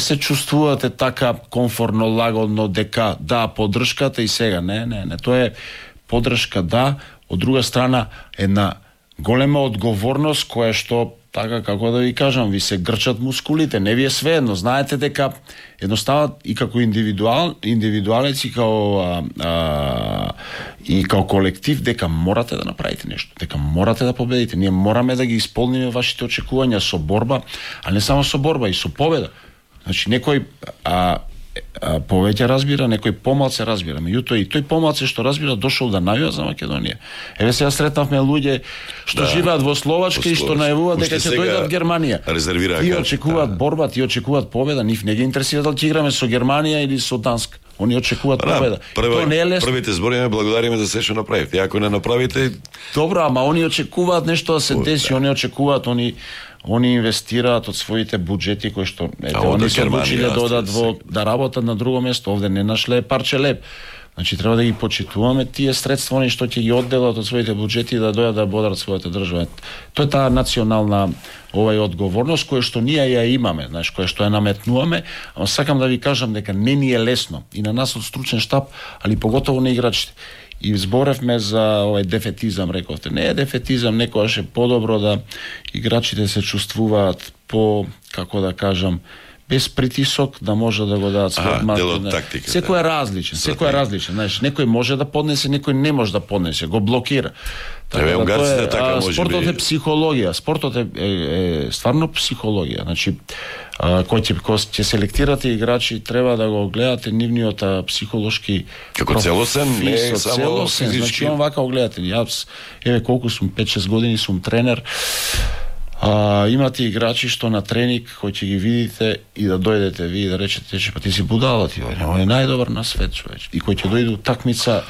се чувствувате така комфортно, лагодно дека да, поддршката и сега не, тоа е поддршка да, од друга страна една голема одговорност која што така како да ви кажам, ви се грчат мускулите, не ви е свеедно, знаете дека едноставно и како индивидуалец и како колектив дека морате да направите нешто, дека морате да победите. Ние мораме да ги исполниме вашите очекувања со борба, а не само со борба, и со победа. Значи некој повеќе разбира, некој помалце разбира. Меѓутоа и тој помалце што разбира дошол да најава за Македонија. Еве сега сретнавме луѓе што живеат во Словачка и што најавуваат дека ќе дојдат од Германија. Тие очекуваат борба, тие очекуваат победа, нив не ги интересира дали ќе играме со Германија или со Данска. Они очекуваат победа. Тоа не е лесно. Првите збори ме благодариме за се што направивте. Ако не направите, добро, ама они очекуваат нешто да се деси, они очекуваат, они инвестираат од своите буџети кои што они се одлучиле да одат да работат на друго место, овде не нашле парче леп. Значи треба да ги почитуваме тие средства они што ќе ги одделат од своите буџети да дојдат да бодат својата држава. Тоа е таа национална одговорност која што ние ја имаме, знаеш, која што ја наметнуваме, а сакам да ви кажам дека не ни е лесно и на нас од стручен штаб, али поготово на играчите. И зборевме за овој дефетизам, рековте. Не е дефетизам, некогаш е подобро да играчите се чувствуваат по, како да кажам, без притисок да може да го дадат својот мат. Секој е различен, знаеш, некој може да поднесе, некој не може да поднесе, го блокира. Спортот е психологија, спортот е стварно психологија. Значи, кој ќе селектирате играчи, треба да го гледате нивниот психолошки како целосен, не само физички. Значи, он вака го гледате. Јас, еве колку сум, 5-6 години сум тренер, имате играчи што на тренинг кој ќе ги видите и да дојдете ви и да речете, че па ти си будала, ти е најдобар на свет, човеч. И кој ќе дојде такмица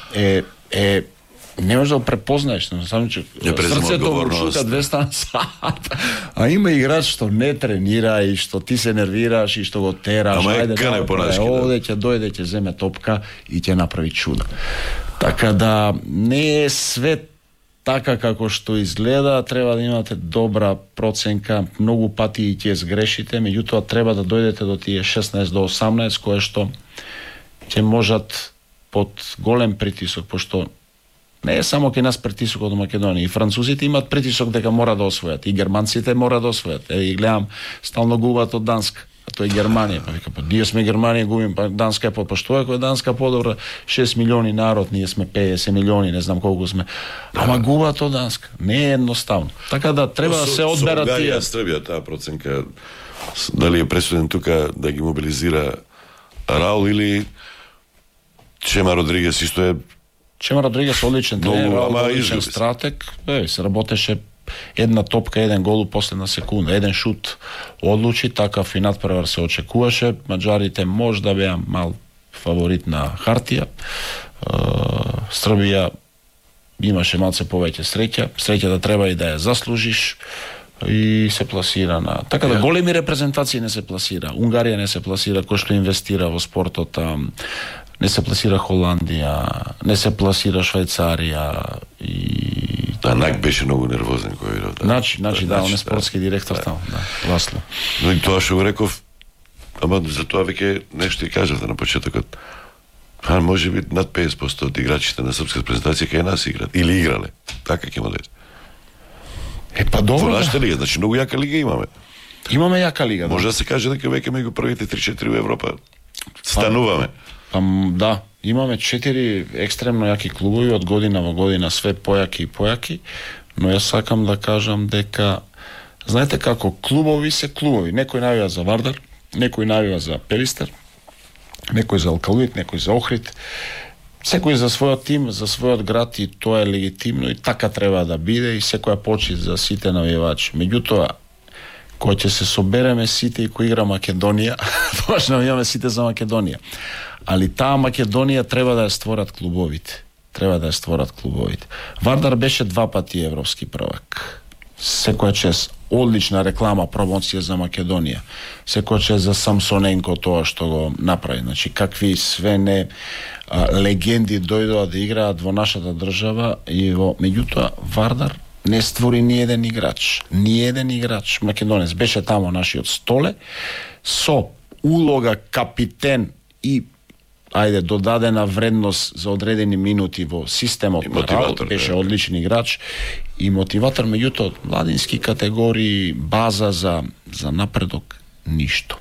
не можеш да го препознаеш, само че срцето го шука 200 на сат. А има играч што не тренира и што ти се нервираш и што го тераш. Ама е кане понашки. Овде ќе дојде, ќе земе топка и ќе направи чудо. Така да не е свет така како што изгледа, треба да имате добра проценка, многу пати и ќе сгрешите, меѓутоа треба да дојдете до тие 16 до 18 кое што ќе можат под голем притисок, пошто не е само кај нас притисок од Македонија, и французите имаат притисок дека мора да освојат, и германците мора да освојат. И гледам, стално губат од Данска, а тоа е Германија. Па вика, па ние сме Германија, губим, па Данска е па што е кој Данска подобра, 6 милиони народ, ние сме 50 милиони, не знам колку сме. Ама губат од Данска. Не е едноставно. Така да треба да се одберат тие. Србија таа проценка дали е пресуден тука да ги мобилизира Раул или Чема Родригес исто е. Чема Родригес одличен тренер, одличен стратег, се работеше една топка, еден гол у последна секунда, еден шут одлучи, такав и надпревар се очекуваше. Маđарите може да беа мал фаворит на хартија. Србија имаше малце повеќе среќа да треба и да ја заслужиш и се пласира на... Така да големи репрезентации не се пласира. Унгарија не се пласира, кој што инвестира во спортот, не се пласира Холандија, не се пласира Швајцарија и... Нак беше многу нервозен кој видов. Значи, да, он е спортски директор таму, да, Ласло. Но и тоа што го реков, ама за тоа веќе нешто и кажавте на почетокот. Може би над 50% од играчите на српската презентација кај нас играат или играле. Така ќе му дойде. Па добро. Во нашата лига, значи многу јака лига имаме. Имаме јака лига, да. Може да се каже дека веќе меѓу првите 3-4 во Европа стануваме. Да, имаме 4 екстремно јаки клубови, од година во година све појаки и појаки, но јас сакам да кажам дека знаете како клубови се клубови. Некој навија за Вардар, некој навија за Перистер, некој за Алкалуит, некој за Охрид. Секој за својот тим, за својот град, и тоа е легитимно и така треба да биде, и секоја почит за сите навивачи. Меѓутоа, кој ќе се собереме сите и кој игра Македонија, тоа што навиваме сите за Македонија. Али таа Македонија треба да ја створат клубовите. Вардар беше 2 пати европски првак. Секоја чест одлична реклама, промоција за Македонија. Секоја чест за Самсоненко тоа што го направи. Значи, какви све не легенди дојдоа да играат во нашата држава и меѓутоа Вардар не створи ни еден играч македонец. Беше тамо нашиот Столе со улога капитен и додадена вредност за одредени минути во системот на работа, беше одличен играч и мотиватор, меѓутоа младински категории, база за напредок, ништо.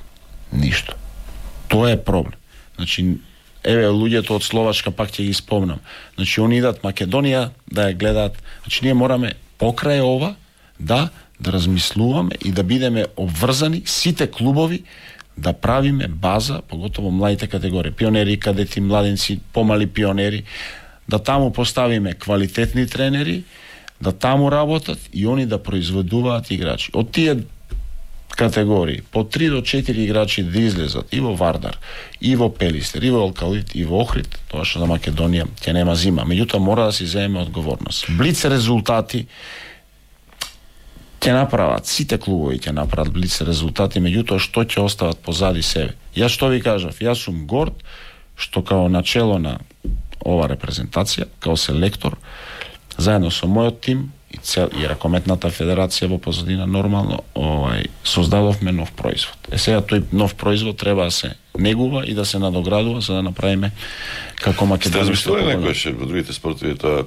Тоа е проблем. Значи, луѓето од Словачка, пак ќе ги спомнам. Значи, они идат Македонија да ја гледаат. Значи, ние мораме покрај ова да размислуваме и да бидеме обврзани сите клубови да правиме база, поготово младите категории, пионери, кадети, младенци, помали пионери, да таму поставиме квалитетни тренери, да таму работат и они да произведуваат играчи. Од тие категории, по 3 до 4 играчи да излезат и во Вардар, и во Пелистер, и во Алкалит, и во Охрид, тоа што за Македонија ќе нема зима. Меѓутоа мора да си земеме одговорност. Блиц резултати ќе направат, сите клубови ќе направат блиц резултати, меѓутоа што ќе остават позади себе. Јас што ви кажав, јас сум горд што као начело на ова репрезентација, као селектор, заедно со мојот тим и Ракометната федерација во позадина нормално создадовме нов производ. Сега тој нов производ треба да се негува и да се надоградува за да направиме како македонски. Сте размислували некојаш во другите спортови тоа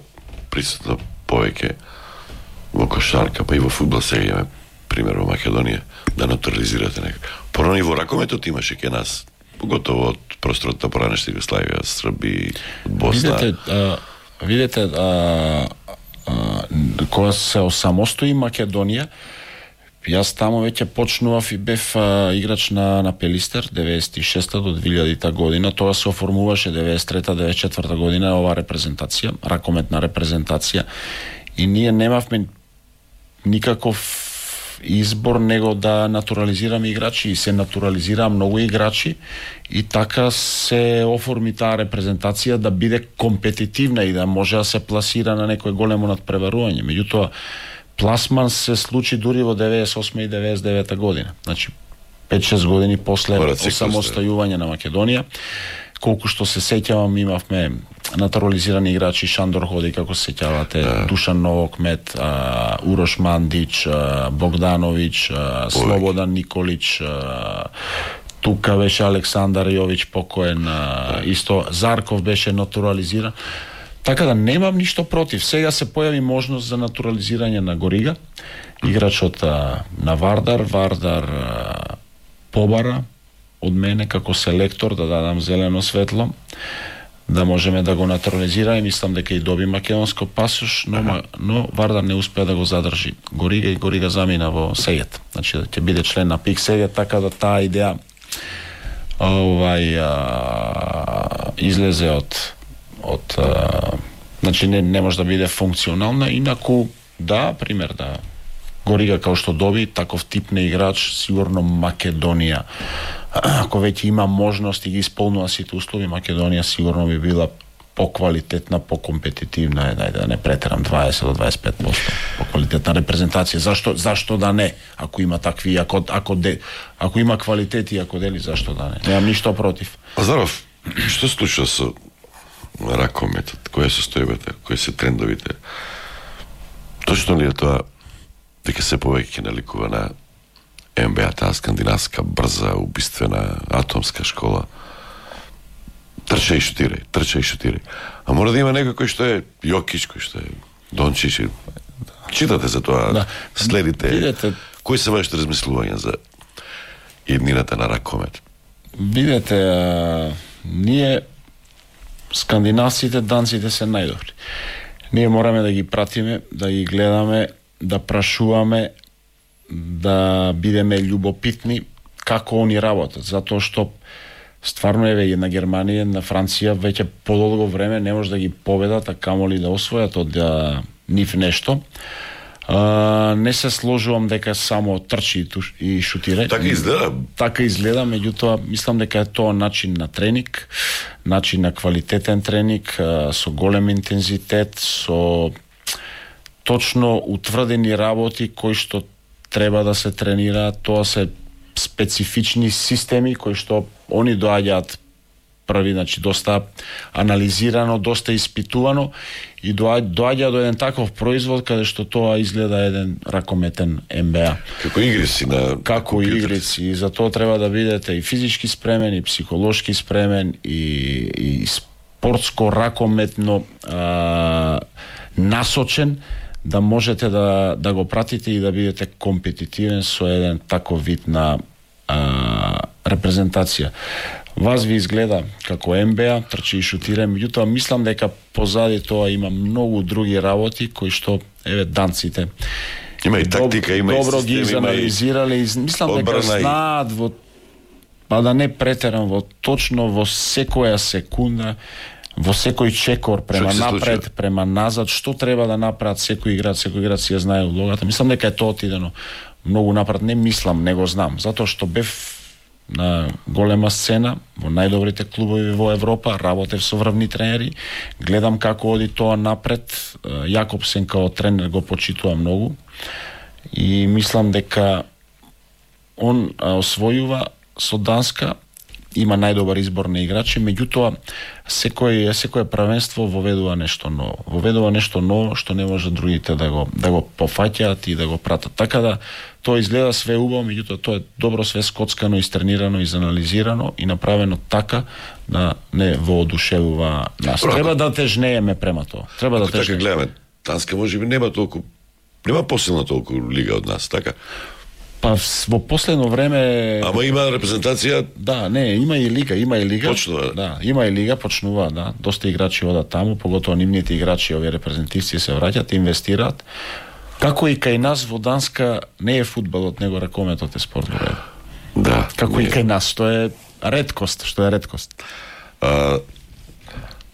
присутно повеќе во кошарка, па и во фудбал сега имаме пример во Македонија да натурализирате некако. Порано и во ракометот имаше ке нас, поготово од просторот на поранешна Југославија, Срби, Босна. Видете, кога се осамостои Македонија, јас таму веќе почнував и бев играч на Пелистер 96-та до 2000-та година. Тоа се оформуваше 93-та, 94-та година ова репрезентација, ракометна репрезентација, и ние немавме никаков избор него да натурализираме играчи, и се натурализираа многу играчи и така се оформи таа репрезентација да биде компетитивна и да може да се пласира на некој големо надпреварување. Меѓутоа пласман се случи дури во 98 и 99 година. Значи 5-6 години после осамостојување на Македонија. Колку што се сеќавам, имавме натурализирани играчи, Шандор Ходи, како се сеќавате, Душан Новокмет, Урош Мандич, Богдановиќ, Слободан Николич, тука беше Александар Јович покоен, исто Зарков беше натурализиран. Така да немам ништо против. Сега се појави можност за натурализирање на Горига, играчот на Вардар побара од мене како селектор да дадам зелено светло, да можеме да го натурализираме. Мислам дека и доби македонско пасош, но Вардар не успеа да го задржи Горига и Горига замина во Сегет. Значи ќе биде член на ПИК Сегет, така да таа идеја излезе од значи не може да биде функционална, инаку да, пример да Горига као што доби таков тип на играч, сигурно Македонија, ако веќе има можност и ги исполнува сите услови, Македонија сигурно би била поквалитетна, покомпетитивна, да не претерам 20 до 25% поквалитетна репрезентација. Зашто да не? Ако има такви, ако има квалитет и ако дели, зашто да не? Немам ништо против. Азаров, што случува со ракометот? Која се состојбата? Кои се трендовите? Точно ли е тоа дека се повеќе наликува на НБА, таа скандинавска, брза, убиствена, атомска школа? Трча и шутирај. А мора да има некој кој што е Јокич, кој што е Дончич. Читате за тоа, да. Следите. Видете, кои се вашите размислувања за еднината на ракомет? Видете, ние скандинавците, данците се најдобри. Ние мораме да ги пратиме, да ги гледаме, да прашуваме, да бидеме љубопитни како они работат, затоа што стварно на Германија, на Франција веќе подолго време не може да ги победат, а камоли да освојат од нив нешто. Не се сложувам дека само трчи и шутира. Така изгледа, меѓутоа мислам дека е тоа начин на тренинг, начин на квалитетен тренинг, со голем интензитет, со точно утврдени работи кои што треба да се тренираат. Тоа се специфични системи кои што они доаѓаат први, значи доста анализирано, доста испитувано и доаѓа до еден таков производ каде што тоа изгледа еден ракометен НБА. Како игрици на како игрици, и за тоа треба да бидете и физички спремен, и психолошки спремен, и спортско ракометно насочен, да можете да го пратите и да бидете компетитивен со еден таков вид на репрезентација. Вас ви изгледа како НБА, трчи и шутира, меѓутоа мислам дека позади тоа има многу други работи кои што данците има и тактика, има и добро систем, ги анализирале и мислам дека знаат па да не претерам, точно во секоја секунда, во секој чекор према напред, према назад, што треба да направат секој играч си ја знае улогата. Мислам дека е тоа отидено многу напред, не мислам, не го знам, затоа што бев на голема сцена во најдобрите клубови во Европа, работев со врвни тренери, гледам како оди тоа напред. Јакобсен као тренер го почитува многу и мислам дека он освојува со Данска, има најдобар избор на играчи, меѓутоа секое првенство воведува нешто ново што не може другите да го пофаќаат и да го пратат. Така да тоа изгледа све убаво, меѓутоа тоа е добро све скоцкано, истренирано, изанализирано и направено така да не воодушевува нас. Треба да тежнееме према тоа. Треба да тежнееме. Така гледаме, Данска можеби нема посилна толку лига од нас, така? Па во последно време... Ама има репрезентација? Да, не, има и лига. Почнува? Да, има и лига, почнува, да. Доста играчи одат таму, поготово нивните играчи, овие репрезентативци се враќат, инвестираат. Како и кај нас во Данска не е фудбалот, него ракометот е спорт во ред. Да. Како и кај нас, што е редкост.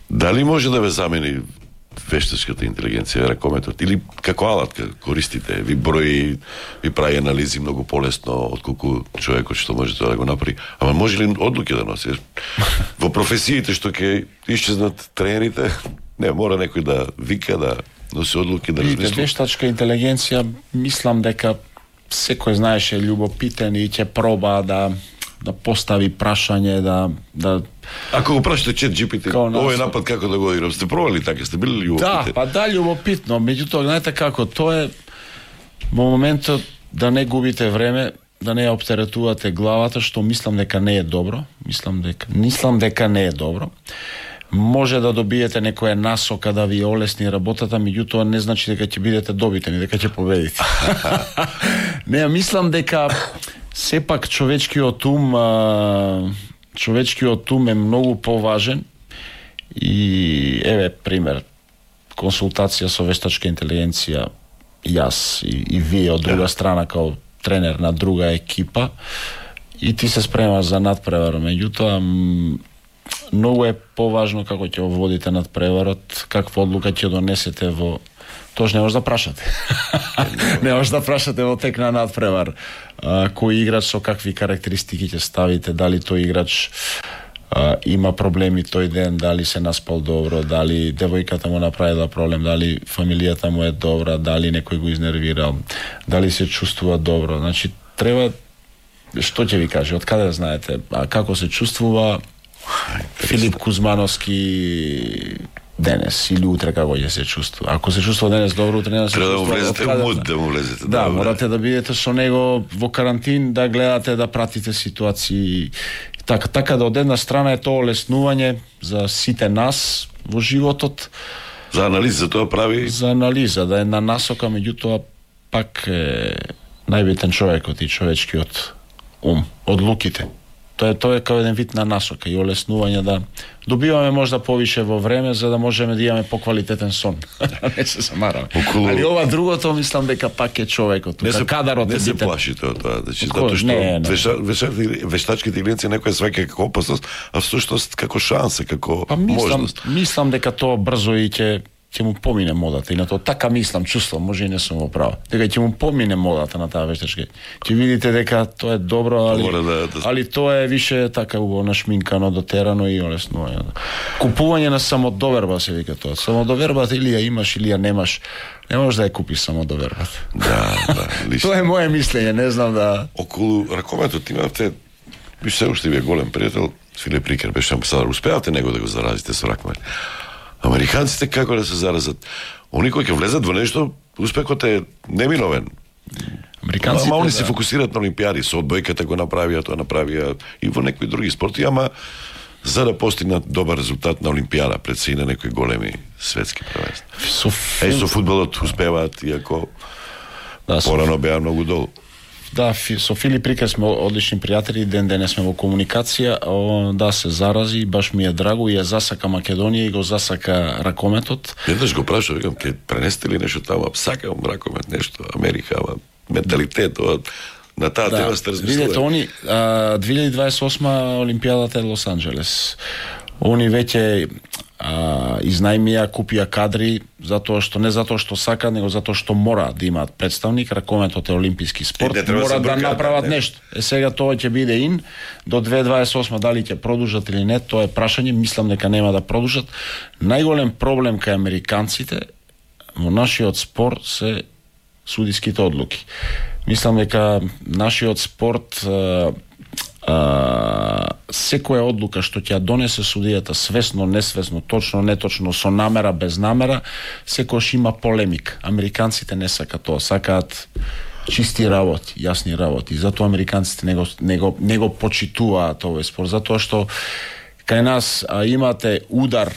Дали може да ве замени вештачката интелигенција, ракометот, или како алатка користите, ви брои, ви прави анализи многу полесно отколку човекот што може тоа да го направи. Ама може ли одлуки да носи? Во професиите што ќе исчезнат тренерите, не, мора некој да вика, да носи одлуки, да размисли. Вештачка интелигенција, мислам дека секој знаеше љубопитен и ќе проба да постави прашање, да Ако го прашате ChatGPT, овој напад како да го играм, сте пробали така, сте били љубопитни? Да, па да, љубопитно, меѓутоа знаете како, тоа е во моментот да не губите време, да не ја оптеретувате главата, што мислам дека не е добро, мислам дека не е добро. Може да добиете некоја насока да ви олесни работата, меѓутоа не значи дека ќе бидете добитени, дека ќе победите. Не, мислам дека сепак човечкиот ум е многу поважен и еве пример, консултација со вештачка интелигенција, јас и вие од друга страна као тренер на друга екипа, и ти се спремаш за надпревар, меѓутоа многу е поважно како ќе водите надпреварот, каква одлука ќе донесете во... Тоа не може да прашате. Не може да прашате во тек на надпревар кој играч со какви карактеристики ќе ставите, дали тој играч има проблеми тој ден, дали се наспал добро, дали девојката му направила проблем, дали фамилијата му е добра, дали некој го изнервирал, дали се чувствува добро. Значи, треба, што ќе ви каже, од каде знаете, а како се чувствува Филип Кузмановски денес или утре како ќе се чувствува. Ако се чувствува денес добро, утре не се чувствува. Треба да му влезете. Да, морате да бидете со него во карантин, да гледате, да пратите ситуации. Така да од една страна е тоа олеснување за сите нас во животот. За анализа тоа прави? За анализа, да е на насока, меѓутоа пак е најбитен човекот и човечкиот ум, одлуките. Тоа е као еден вид на насока и олеснување да добиваме можда повише во време за да можеме да имаме поквалитетен сон. Не се замараме. Али ова другото мислам дека пак е човекот. Кадарот не се плаши тоа. Затоа што вештачките интелигенција некоја сваќа како опасност, а всушност како шанса, како можност. Мислам дека тоа брзо и ќе му помине модата, и на тоа така мислам, чувствам, може и не сум во право, дека ќе му помине модата на таа вештачка. Ќе видите дека тоа е добро, али тоа е више така убаво нашминкано, дотерано и олеснување. Купување на самодоверба се вика тоа. Самодовербата или ја имаш или ја немаш, не можеш да ја купиш самодовербата. Да, лично. Тоа е моje мислење, не знам да... Околу ракометот имавте Виж се уште вие голем пријател, Филип Рикер беше амбасадор. Успеавте него да го заразите со рак. Американците како да се заразат? Они кои ќе влезат во нешто, успехот е неминовен. Американците, они се фокусираат на олимпијади, со одбојката го направија, тоа направија и во некои други спорти, ама за да постигнат добар резултат на олимпијада пред се и на некои големи светски првенства. Со фудбалот успеваат, иако порано беа многу долу. Да, со Филип Рикер сме одлични пријатели, ден денес сме во комуникација, да се зарази, баш ми е драго и ја засака Македонија и го засака ракометот. Еднаш го прашав, викам, ке пренесте ли нешто таму, сакам ракомет, нешто, Америка, менталитет, на таа тема сте размислували. Видете, они 2028 Олимпијадата е Лос Анџелес. Они веќе изнајмија, купија кадри, не затоа што сака, него затоа што мора да имаат представник. Ракометот е олимписки спорт, мора да направат нешто. Сега тоа ќе биде до 2028, дали ќе продолжат или не, тоа е прашање, мислам дека нема да продолжат. Најголем проблем кај американците во нашиот спорт се судиските одлуки. Мислам дека нашиот спорт секоја одлука што ќе ја донесе судијата, свесно, несвесно, точно, неточно, со намера, без намера, секојаш има полемика. Американците не сакаат тоа, сакаат чисти работи, јасни работи. Затоа американците не го почитуваат овој спорт, затоа што кај нас имате удар,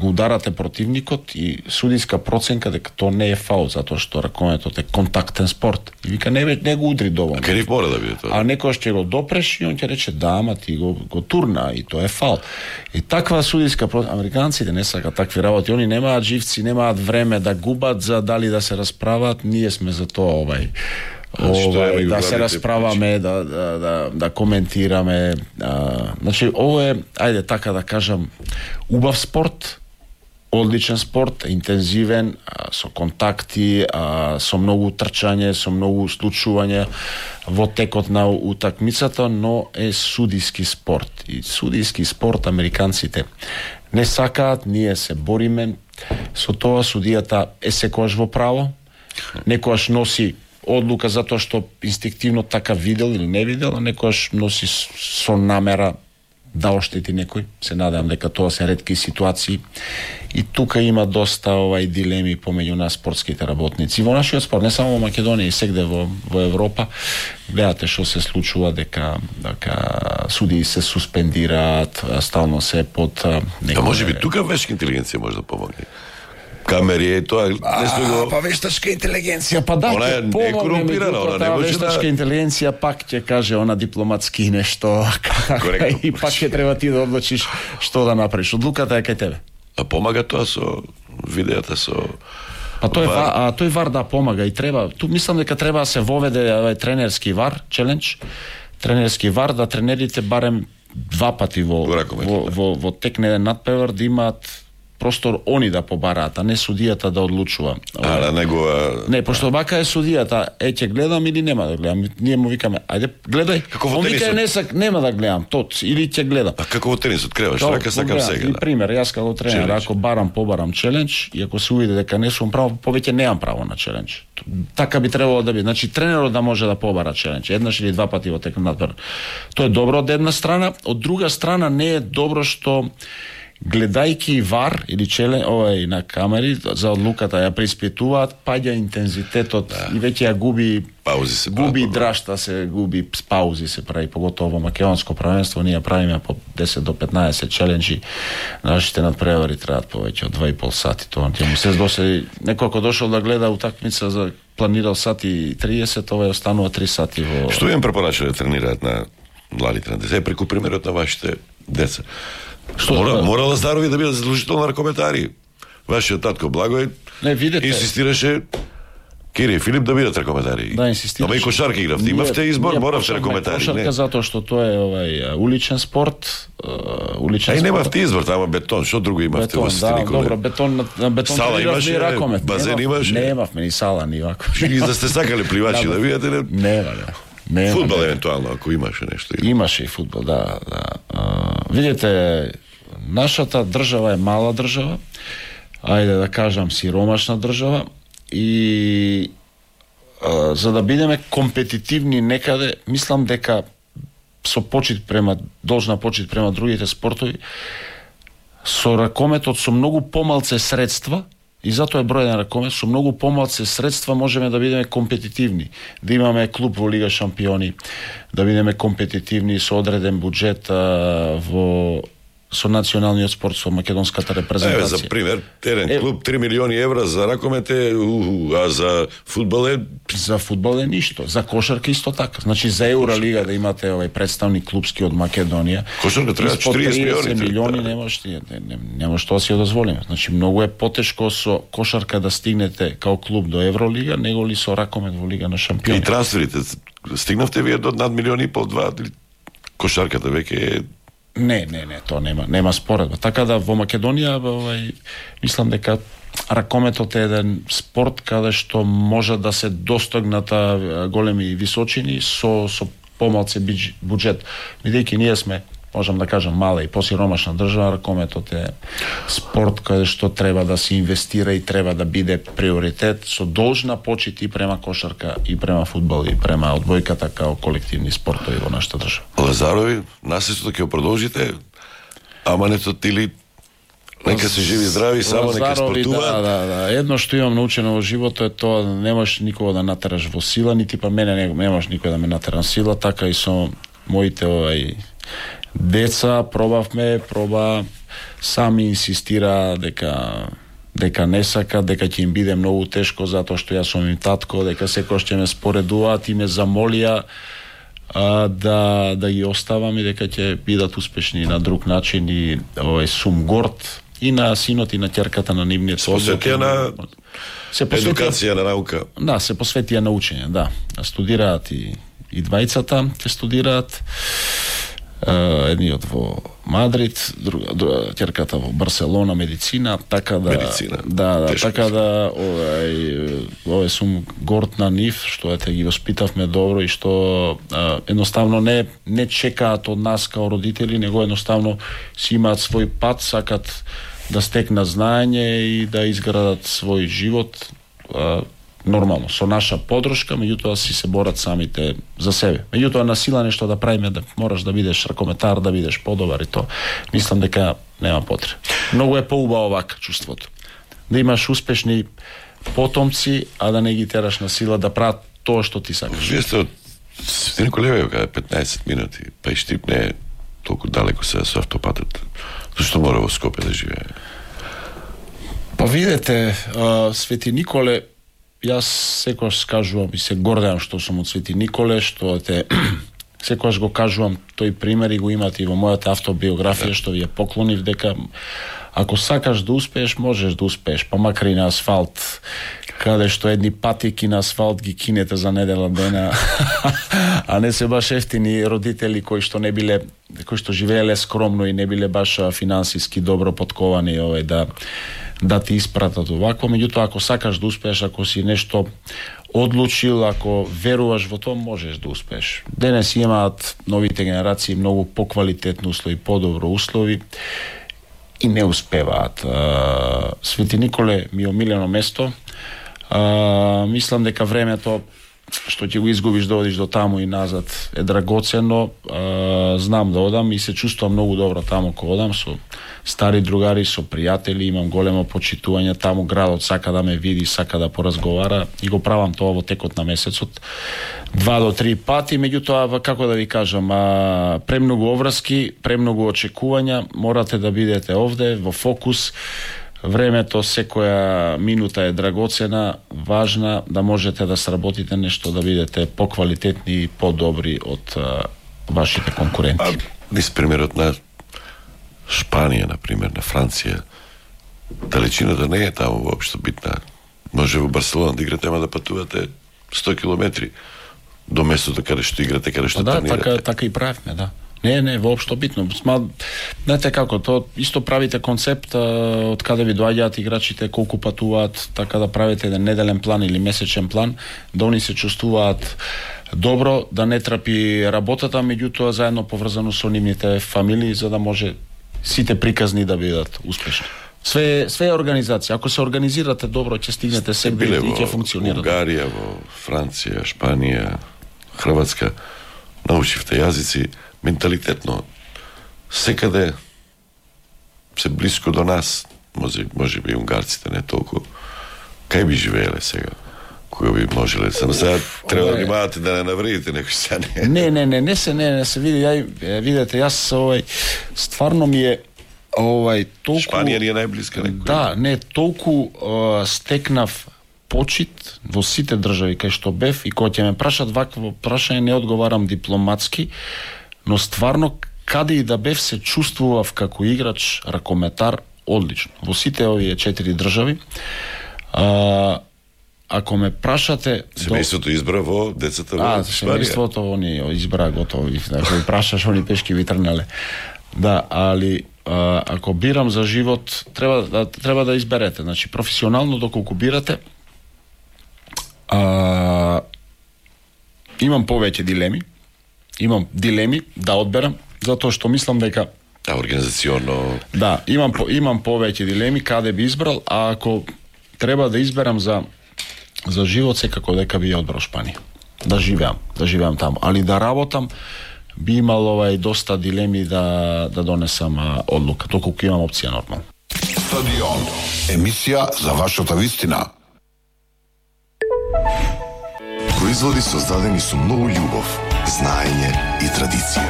ударате противникот и судиска проценка дека тоа не е фаул, затоа што ракометот е контактен спорт. И вика не го удри доволно. А кериф мора да биде тоа. А некојаш ќе го допреш и он ќе рече да, ама ти го турна и тоа е фаул. И таква судиска американците не сакаат такви работи, они немаат живци, немаат време да губат за дали да се расправат, ние сме за тоа да се расправаме, да коментираме. Значи, ово е, ајде така да кажам, убав спорт, одличен спорт, интензивен, со контакти, со многу трчање, со многу случување во текот на утакмицата, но е судиски спорт. И судиски спорт американците не сакаат, ние се бориме со тоа. Судијата е секојаш во право, некојаш носи одлука затоа што инстинктивно така видел или не видел, а некојаш носи со намера да оштети некој. Се надевам дека тоа се ретки ситуации. И тука има доста дилеми помеѓу нас спортските работници. Во нашиот спорт, не само во Македонија, и сегде во Европа, гледате што се случува, дека судии се суспендираат, стално се под некој... може би тука вешка интелигенција може да помогне. Камери е тоа па вештачка интелигенција, па да, она е корумпирана, она не може вештачка интелигенција пак ќе каже она дипломатски нешто и пак ќе треба ти да одлучиш што да направиш. Одлуката е кај тебе. А помага тоа со видеата, со тој вар да помага и треба. Ту мислам дека треба да се воведе тренерски вар, челендж, тренерски вар, да тренерите барем 2 пати во текне надпревар да имаат простор они да побараат, а не судијата да одлучува. Не, пошто вака е судијата, ќе гледам или нема да гледам. Ние му викаме, ајде, гледај. Он вика нема да гледам, или ќе гледам. А како во тенисот креваш, рака сакам сега. И пример, јас како тренер, ако побарам челендж, и ако се увиде дека не сум право, повеќе немам право на челендж. Така би требало да биде. Значи тренерот да може да побара челендж, еднаш или 2 пати во текна надпревар. Тоа е добро од една страна, од друга страна не е добро што гледајки вар или на камери за одлуката ја преиспитуваат, паѓа интензитетот и веќе ја губи драшта, се губи паузи се прави, поготово во македонско првенство ние правиме по 10 до 15 челенџи, нашите надпревари траат повеќе од 2,5 сати, тоа му се досе некој ако дошол да гледа утакмица за планирал сати 30, ова останува 3 сати во... Што им препорача да тренираат на младите на деца, преку примерот на вашите деца? Мора Лазарови да бидат задолжително ракометари. Вашиот татко Благој инсистираше Кири и Филип да бидат ракометари. Да, инсистираше. Ама и кошарка игравте. Имавте избор, моравте ракометари. Кошарка затоа што тоа е уличен спорт. Немавте избор, тама бетон. Што друго имавте во Ситини Коле? Добро, бетон сала имаше, ракомет. Базен имаше. Немавме ни сала, ни вако. И да сте сакале пливачи да видите? Не. Фудбал евентуално, ако имаше нешто. Имаше и фудбал, да. Видите, нашата држава е мала држава, ајде да кажам сиромашна држава, и за да бидеме компетитивни некаде, мислам дека со почит должна почит према другите спортови, со ракометот со многу помалце средства, и затоа е бројен ракомет, со многу помалце средства можеме да бидеме компетитивни, да имаме клуб во Лига шампиони, да бидеме компетитивни со одреден буџет со националниот спорт, со македонската репрезентација. За пример, терен клуб 3 милиони евра за ракомет е, а за фудбал е... За фудбал е ништо, за кошарка исто така. Значи за Евролига да имате представник клубски од Македонија, кошарка треба 40 милиони нема што да си дозволиме. Значи многу е потешко со кошарка да стигнете као клуб до Евролига, него ли со ракомет во Лига на шампиони. И трансферите, стигнавте вие до над 1,5 милиони, 2, кошарката веќе е... Не, тоа нема споредба. Така да во Македонија мислам дека ракометот е еден спорт каде што може да се достигнат големи височини со помалце буџет. Бидејќи ние сме, можам да кажам, мала и посиромашна држава, ракометот е спорт каде што треба да се инвестира и треба да биде приоритет со должна почит и према кошарка, и према фудбал, и према одбојката као колективни спортови во нашата држава. Лазарови, наследството ќе продолжите, ама или нека се живи здрави, само нека спортуваат. Да. Едно што имам научено во животот е тоа да немаш никого да натераш во сила, нити па мене немаш никој да ме натера на сила, така и со моите деца проба сами инсистира дека не сака, дека ќе им биде многу тешко затоа што јас сум им татко, дека секој ќе ме споредуваат и ме замолија да ги оставам и дека ќе бидат успешни на друг начин и сум горд и на синот и на ќерката на нивните. Посветија на едукација, на наука. Да, се посветија на учење, да. Студираат и двајцата, ќе студираат. Едниот во Мадрид, ќерката во Барселона, медицина, така да така да сум горд на нив што ги воспитавме добро и што едноставно не чекаат од нас као родители, него едноставно си имаат свој пат, сакат да стекнат знаење и да изградат свој живот нормално, со наша подршка, меѓутоа си се борат самите за себе. Меѓутоа на сила нешто да правиме, да мораш да бидеш ракометар, да бидеш подобар и тоа. Мислам дека нема потреба. Многу е поубаво вака чувството. Да имаш успешни потомци, а да не ги тераш на сила да прават тоа што ти сакаш. Вие сте од Свети Николевије, каде 15 минути, па и Штип не е толку далеко се со автопатот. Зашто мора во Скопје да живее? Па видете, Свети Николе, јас секогаш кажувам и се гордеам што сум од Свети Николе, што секогаш го кажувам тој пример и го имате и во мојата автобиографија, што ви ја поклонив, дека ако сакаш да успееш, можеш да успееш, па макар и на асфалт, каде што едни патики на асфалт ги кинете за недела дена, а не се баш ефтини родители кои што живееле скромно и не биле баш финансиски добро подковани да ти испратат овакво. Меѓутоа, ако сакаш да успееш, ако си нешто одлучил, ако веруваш во тоа, можеш да успееш. Денес имаат новите генерации многу поквалитетни услови, подобро услови и не успеваат. Свети Николе ми е омилено место. Мислам дека времето што ќе го изгубиш да одиш до таму и назад е драгоцено. Знам да одам и се чувствувам многу добро таму кога одам со стари другари, со пријатели, имам големо почитување таму, градот сака да ме види, сака да поразговара и го правам тоа во текот на месецот 2 до 3 пати, меѓутоа како да ви кажам, премногу обврски, премногу очекувања, морате да бидете овде во фокус. Времето, секоја минута е драгоцена, важна, да можете да сработите нешто, да бидете поквалитетни и подобри од вашите конкуренти. Низ примерот на Шпанија, например, на Франција, далечината не е таму воопшто битна. Може во Барселона да играте, ама да патувате 100 километри до местото каде што играте, каде што тренирате. Да, така и правиме, да. Не, воопшто битно. Знаете како, то исто правите концепт од каде ви доаѓаат играчите, колку патуваат, така да правите еден неделен план или месечен план, да они се чувствуваат добро, да не трапи работата, меѓутоа заедно поврзано со нивните фамилии, за да може сите приказни да бидат успешни. Све е организација. Ако се организирате добро, ќе стигнете сегде и ќе функционира. Во Унгарија, во Франција, Шпанија, Хрватска, научивте јазици, менталитетно секаде се блиско до нас, може би унгарците не толку, кај би живееле сега? Кога би можеле? Само сега треба да внимавате да не навредите некој сега. Не се види, видете, јас стварно ми е толку... Шпанија ни е најблиска некој. Да, не, толку стекнав почит во сите држави кај што бев и кога ќе ме прашат вакво прашање не одговарам дипломатски, но стварно каде и да бев се чувствував како играч ракометар одлично. Во сите овие 4 држави. Ако ме прашате... Семејството избра во децата во Шпанија. Семејството они избра готови. Ако ви прашаш, они пешки ви трнале. Да, али ако бирам за живот, треба да изберете. Значи, професионално доколку бирате, имам повеќе дилеми. Имам дилеми да одберам, затоа што мислам дека организационно... Да, имам повеќе дилеми каде би избрал, а ако треба да изберам за живот, секако дека би ја одбрал Шпанија. Да живеам таму, али да работам би имал доста дилеми да донесам одлука, доколку имам опција нормално. Стадион, емисија за вашата вистина. Производи создадени со многу љубов, знаење и традиција.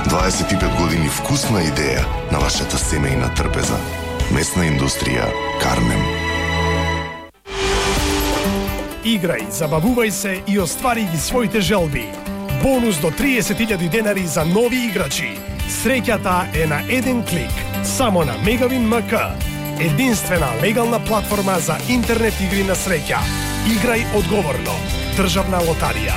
25 години вкусна идеја на вашата семејна трпеза. Месна индустрија Карнем. Играј, забавувај се и оствари ги своите желби. Бонус до 30.000 денари за нови играчи. Среќата е на еден клик, само на Мегавин МК. Единствена легална платформа за интернет игри на среќа. Играј одговорно. Државна лотарија.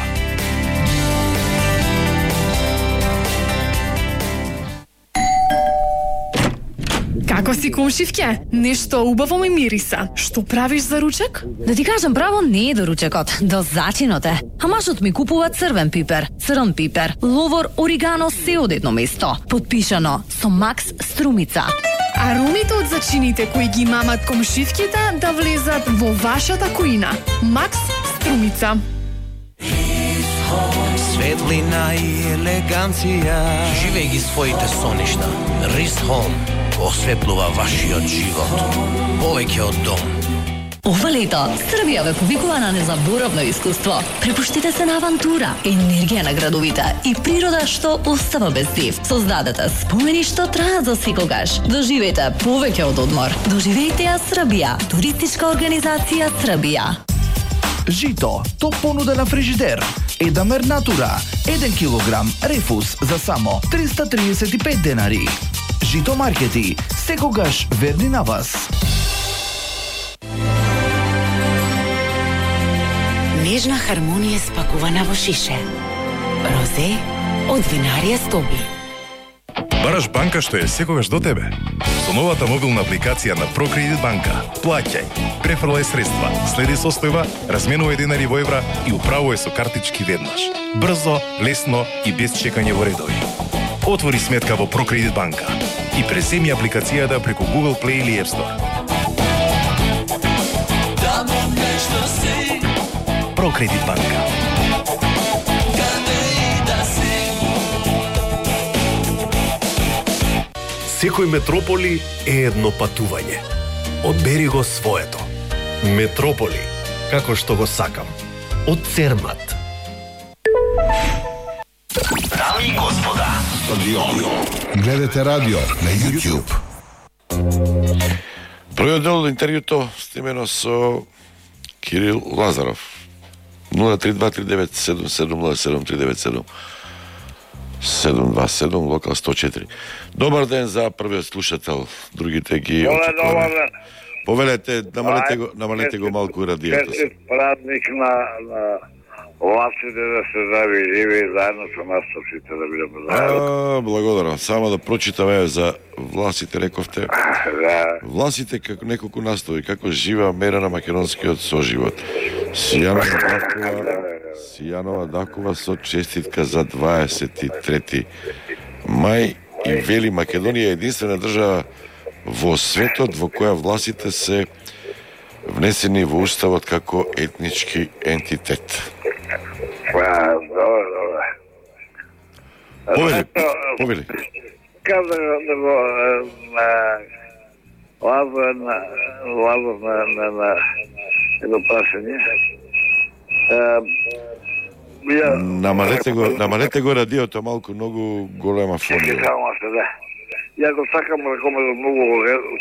Како си, комшивке? Нешто убаво ми мириса. Што правиш за ручек? Да ти кажам право, не е до ручекот, до зачинот е. А мажот ми купува црвен пипер, црн пипер, ловор, оригано, се од едно место. Подпишано со Макс Струмица. Аромите од зачините кои ги мамат комшивките да влезат во вашата кујна. Макс Струмица. Светлина и елеганција. Живеј ги своите соништа. Рис Home осветлува вашиот живот. Повеќе од дом. Ова лето, Србија ве повикува на незаборавно искуство. Препуштите се на авантура, енергија на градовите и природа што остава без див. Создадете спомени што траат за секогаш. Доживејте повеќе од одмор. Доживејте ја Србија. Туристичка организација Србија. Жито, топ понуда на фрижидер. Едамер Натура, 1 килограм рефус за само 335 денари. Жито маркети, секогаш верни на вас. Нежна хармонија спакувана во шише. Розе од винарија Стоби. Бараш банка што е секогаш до тебе. Со новата мобилна апликација на ProCredit банка. Плаќај, префрлај средства, следи состојба, разменувај денари во евра и управувај со картички веднаш. Брзо, лесно и без чекање во редови. Отвори сметка во ProCredit банка и преземи апликацијата преку Google Play или App Store. ProCredit банка. Секој метрополи е едно патување. Одбери го своето. Метрополи, како што го сакам. Од Цермат. Дами и господа, Стадион. Гледате радио на YouTube. Првиот дел од интервјуто стимено со Кирил Лазаров. 032397707 727 локал 104. Добар ден за првиот слушател. Другите ги Добар ден. Повелете, намалете го малку радиото. Празник на властите да се здрави и живи заедно со нас сите да бидеме заедно. Благодарам. Само да прочитаме за властите, рековте. Да. Властите како неколку настои, како жива мера на македонскиот соживот. Сијанова Дакова со честитка за 23 мај и вели Македонија е единствена држава во светот во која властите се внесени во уставот како етнички ентитет. Повели. Каза да го Лазов на едно прашање. Намалете го радиото малку, многу голема фонија. Да. Ја го сакам ракомето многу,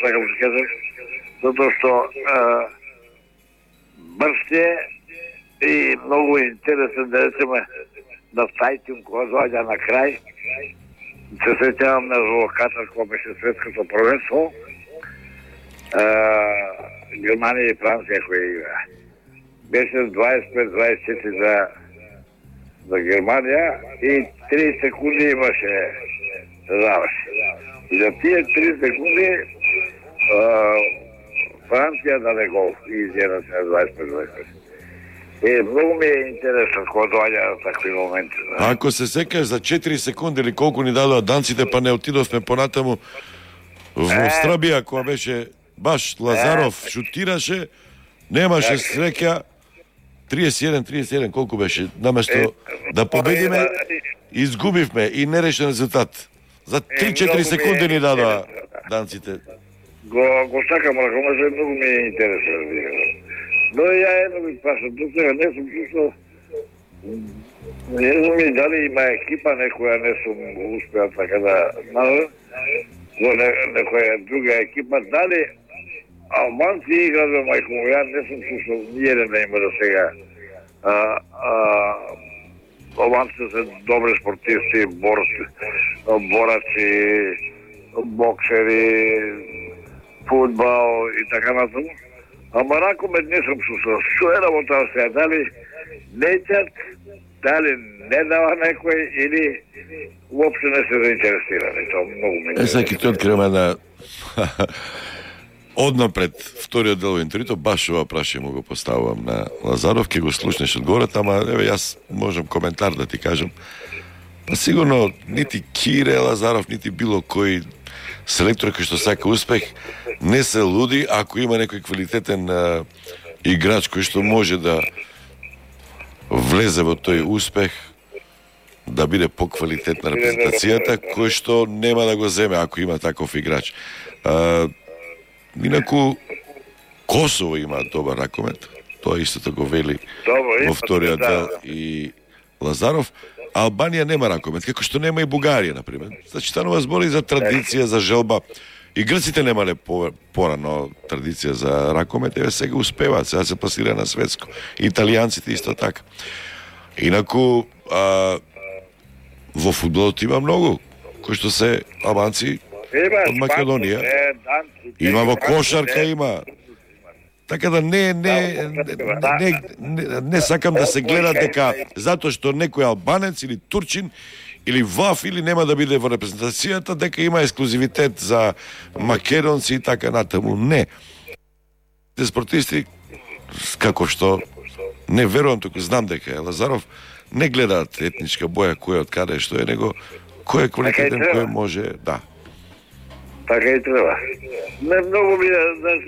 сакам да кажам, затоа што брз е и многу интересен, да речеме, на сајтим кога доаѓа на крај. Се сеќавам на во Катар кога беше светското првенство. Германија и Франција кои игра. Беше 25-24 за Германија и 3 секунди имаше заврши. И за тие 3 секунди Франција даде гол и изједна се на 25-25. Многу ми е интересно кога доаѓа на такви моменти. Ако се секаш за 4 секунди или колку ни дадоа данците, па не отидовме понатаму во Страбија, кога беше баш Лазаров шутираше, немаше среќа, 31-31, колку беше, наместо да победиме, изгубивме и нерешен резултат. За 3-4 секунди ни дадоа данците. Го сакам ракомето, многу ми е интересно. Но ја едно ми прашам, до сега не сум чувствал, не знам и дали има екипа некоја, не сум успеал така да најдам, во некоја друга екипа, дали албанци играат во мајко му, ја не сум чувствал ниједен да има до сега. Албанците се добри спортисти, бораци, боксери, фудбал и така натаму. Ама ракомет не сум чувствал. Што е работа сега? Дали неќат, дали не дава некој или уопште не се заинтересирани. Тоа многу ме интересира. Сега ќе ти откривам една однапред вториот дел во интервјуто, баш ова прашање му го поставувам на Лазаров, ќе го слушнеш одговорот, ама еве јас можам коментар да ти кажам. Па сигурно нити Кире Лазаров, нити било кој селектор кој што сака успех, не се луди ако има некој квалитетен играч кој што може да влезе во тој успех, да биде поквалитетна репрезентацијата, кој што нема да го земе ако има таков играч. Инаку Косово има добар ракомет, тоа истото го вели во вториот дел и Лазаров. Албанија нема ракомет, како што нема и Бугарија, например. Значи, станува збор и за традиција, за желба. И грците немале порано традиција за ракомет, еве сега успеваат, сега се пласира на светско. Италијанците исто така. Инаку, во фудбалот има многу, кои што се албанци од Македонија. Има во кошарка, има. Така да не сакам да се гледа дека затоа што некој албанец или турчин или ваф или нема да биде во репрезентацијата, дека има ексклузивитет за македонци и така натаму. Не. Те спортисти, како што не верувам, туку знам дека Лазаров не гледаат етничка боја, кој од каде што е, него кој е квалитетен, кој може, да. Така и треба. Не многу ми е, знаеш,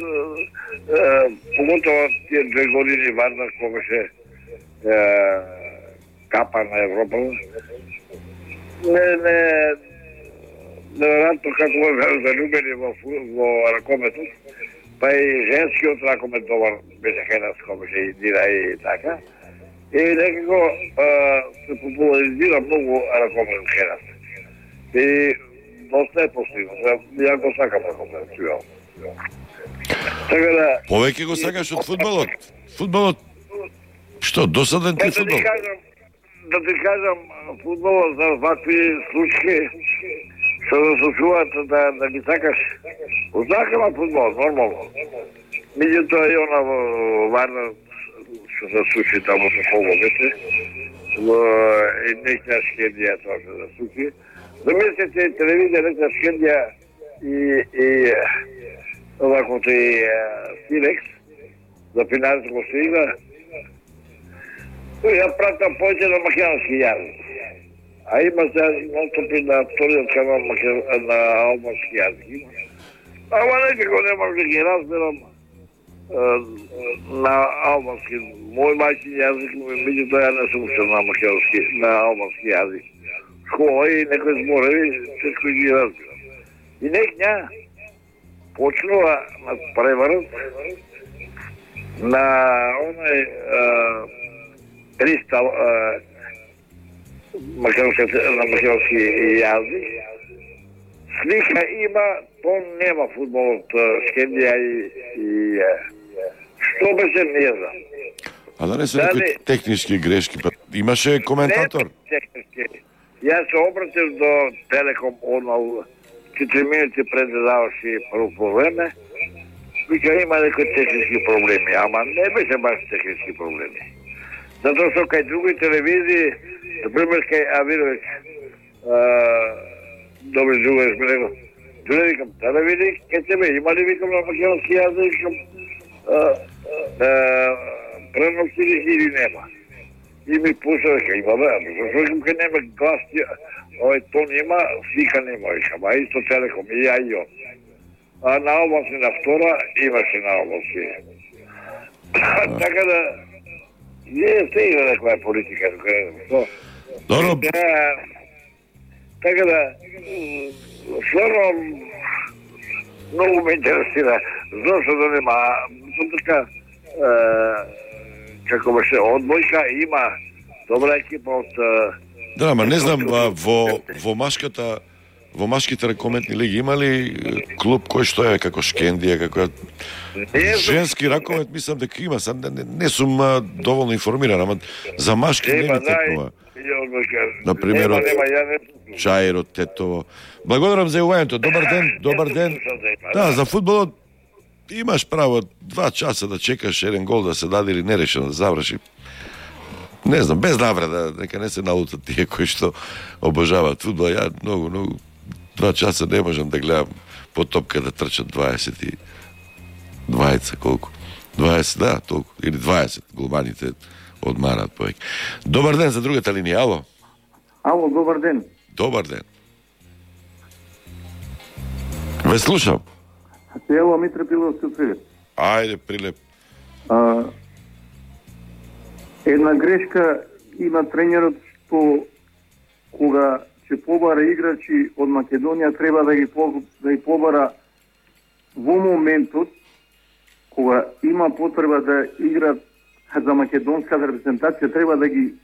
поготово тие 2 години Вардар кога беше капа на Европа. Неверојатно како беа залюбени во ракометот, па и женскиот ракомет добар беше хенас кога беше Индира и така. И некако се популаризира многу ракомет хенас. И доста е постигнат. Ја го сакам ракомет, сигурно. Така да... Повеќе го сакаш од фудбалот? Фудбалот, што, досаден ти фудбал? Да ти кажам, фудбалот за вакви случаи, што да се чуваат да ги сакаш. Сакам фудбал, нормално. Меѓутоа и она во Варна, што се случи таму со Коловете, во нешна Шкендија тоа се се случи. Замислете, телевизија нешна Шкендија и оваквото и Силекс, за финалско се игра, ја пратам повеќе на македонски јазик. А има се настапи на вториот канал на албански јазик. Ама некако не можам да ги разберам на албански. Мој мајчин јазик, меѓутоа ја не сум учен на албански јазик. школа и некои зборови, всичко ги разбирам. И некња почнува на преварот на онај кристал на македонски јазик. Слика има, то нема фудбалот Скендија и што беше, не знам. А да не се некои технички грешки, па имаше коментатор? Не технички. Јас се обратив до Телеком одмал 4 минути пред да заврши прво по време. Вика има некои технички проблеми, ама не беше баш технички проблеми. Затоа што кај други телевизии, например кај Авирович, добри другари ми рекол, Джуне, викам, да види, кај тебе има ли, викам, на македонски јазик, викам, пренос или нема. И ми пуша, века, има бе, зашто викам, кај нема глас, тон има, слика нема, викам, а исто Телеком, и ја и он. А на области на втора имаше на области. Така да, не се има некоја политика, што? Добро. Така да, стварно, многу ме интересира, зашто да нема, така, како беше одбојка, има добра екипа од... Да, ама не знам, во машките ракометни лиги има ли клуб кој што е како Шкендија, како женски ракомет, мислам дека има, не сум доволно информиран, ама за машки не ми текнува. Например, од Чаир, од Тетово. Благодарам за јавувањето. Добар ден, добар ден. Да, за фудбалот имаш право 2 часа да чекаш еден гол да се даде или нерешено да заврши. Не знам, без навреда, нека не се налутат тие кои што обожаваат фудбал. Ја многу 2 часа не можам да гледам по топка да трчат 20 колку? 20, да, толку, или 20 голманите одмараат повеќе. Добар ден за другата линија, ало? Ало, добар ден. Добар ден. Ве слушам. Ево, Митре Пиловски од Свирет. Ајде, прилеп. Една грешка има тренерот што кога ќе побара играчи од Македонија треба да ги побара во моментот кога има потреба да играат за македонска репрезентација, треба да ги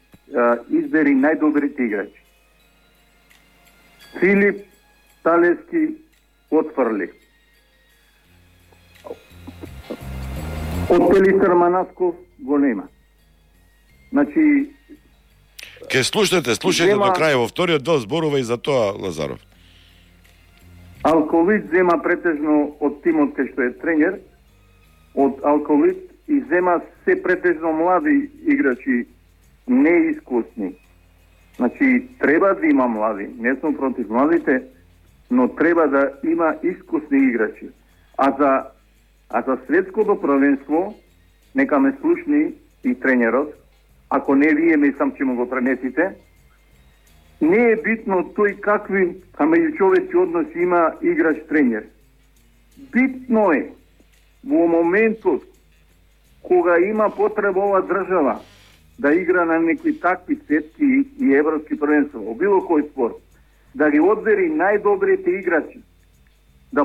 избери најдобрите играчи. Филип Талески отфрли. Од Пелистар Манасков го нема. Значи, ке слушате до крај, во вториот дел зборува и за тоа Лазаров. Алковит зема претежно од тимот кај што е тренер, од Алковит и зема се претежно млади играчи, неискусни. Значи, треба да има млади, не сум против младите, но треба да има искусни играчи. А за светското првенство, нека ме слушни и тренерот, ако не вие мислам че му го пренесите, не е битно тој какви меѓучовечки односи има играч-тренер. Битно е во моментот кога има потреба ова држава да игра на некои такви светски и европски првенства, во било кој спорт, да ги одбери најдобрите играчи, да